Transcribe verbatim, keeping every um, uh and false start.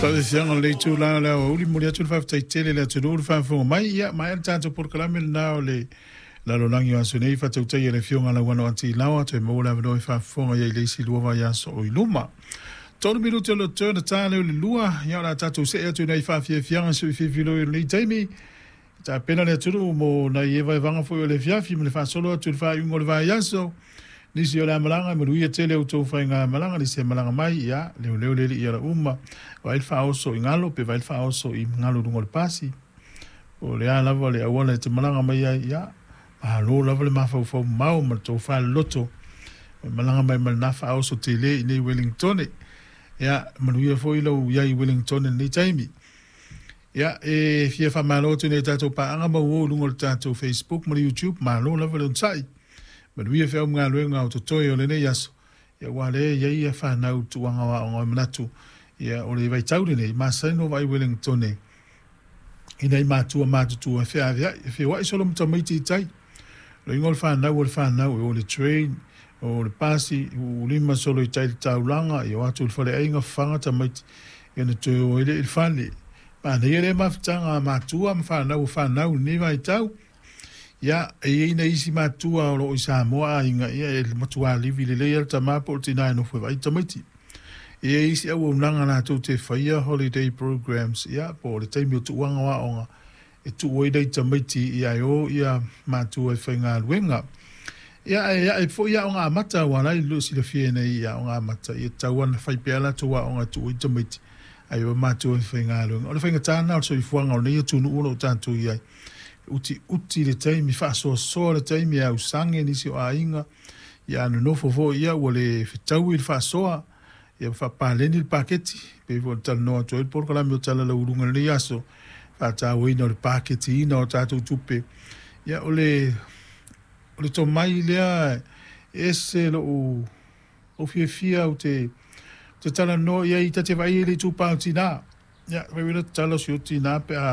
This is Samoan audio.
Faafiafiaga o le itulā o le aoauli, momoli atu le faafetai tele i le atunuu le faafofoga mai. Ia maea le tatou polokalame lenā o le lalolagi o aso nei, faatautaia e le Afioga Lauano Ati Laoa, toe maua le avanoa e faafofoga i ai i le isi lua vaiaso o i luma. Tolu minute o le toe ona ta lea o le lua, ia o le a tatou see atu i nai faafiafiaga sui filifiloi o lenei taimi. Tapena le atunuu mo nai evaevaga foi o le afiafi ma le faasolo atu i le faaiuga o le vaiaso. Nisi o le a malaga, e manuia tele outou faigamalaga, nisi e malaga mai, ia leoleo le alii ala uma, vaai le faaoso i galo pe vaai le faaoso i galo i luga o le pasi. O le a lava le auala e te malaga mai ai, ia malo lava le mafaufau mamao ma le tofa loloto e malaga mai ma lena faaoso tele i nei Wellingtone. Ia manuia foi lou iai i Wellingtone i lenei taimi. Ia e fia faamalo atu i nai tatou paaga ma uo i luga o le tatou Facebook ma le YouTube, malo lava le onosai. Manuia feau ma galuega o totoe o lenei aso, ia aua lea e i ai fanau i le tuuaga o aoga o manatu, ia o le vaitau lenei, masani ona vaai Wellingtone i nai matua matutua e feaveai, e feoai solo ma tamaiti i tai. O le uiga o le fanau o le fanau, e o i le train, o le pasi, uulima solo i tai i le taulaga, ia o atu i le faleaiga, fafaga tamaiti, ia ona toe o ai lea i le fale. Manaia lea mafutaga a matua ma fanau o fanau i lenei vaitau. Ia, e i ai nai isi matua o lo o i Samoa aiga, ia e matua livi lelei lava le tama po o le tina e nofo e vaai tamaiti. E i ai isi auaunaga latou te faia holiday programs, ia, po o le taimi o tuuaga o aoga, e tuu ai nai tamaiti ia e o ia matua e faigaluega. Ia, ae ae foi aoga amata, aua la e silafia nei i aoga amata, ia tatau lava ona fai pea latou aoga e tuu ai tamaiti, ae o matua e faigaluega. O le faigata lena o le soifuaga o lenei atunuu o lo o tatou i ai. Utiuti le taimi, faasoasoa le taimi e ausage nisi o aiga, ia a nonofo foi ia ua le fetaui le faasoa, ia faapaleni le paketi, pei foi ona talanoa atu ai le polokalame o Tala Lauuluga i lenei aso, faatauaina o le paketiina o tatou tupe. Ia o le o le tomai lea e ese lou ou fiafia ou te te talanoa i ai, ta te vaai i le itupa o tina. Ia fai mai le tatalo si ou tina pe a